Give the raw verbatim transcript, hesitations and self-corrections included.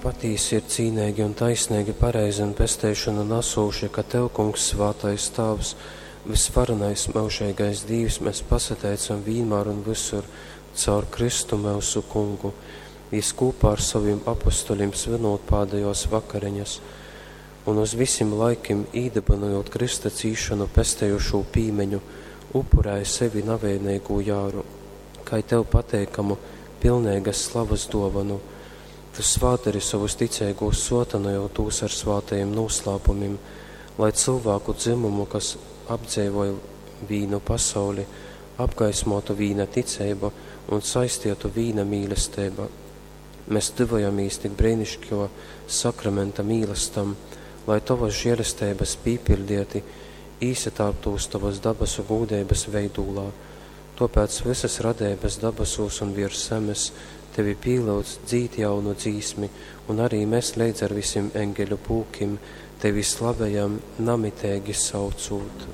Patīsi ir cīneigi un taisneigi, pareizi un pesteišonu nasūši, ka Tev, Kungs, svātais Tāvs, vysvarenais myužeigais Dīvs, mēs pasateicam vīnmār un vysur caur Kristu myusu Kungu. Jis kūpā ar sovim apostoļim svinūt pādejōs vakareņas un uz visim laikim īdybynojūt krysta cīšonu pestejušū pīmiņu, upurēja sevi navaineigū jāru, kai Tev pateikamu, pilneigas slavas dōvonu. Tu svātdari sovus ticeigūs, sōtynojot tūs ar svātajim nūslāpumim, lai cylvāku dzymumu, kas apdzeivoj vīnu pasauli, apgaismotu vīna ticeiba un saistietu vīna mīlesteiba. Mēs tyvojamīs tik breinišķo sakramenta mīlastam, lai Tovas žēlesteibas pīpiļdieti īsatārptūs Tovas dabasu gūdeibas veidūlā. Tōpēc visas radeibas dabasūs un virs zemes Tevi pīlyudz, dzīd jaunu dzīsmi, un arī mēs leidz ar visim eņgeļu pulkim Tevi slavejam, namiteigi saucūt.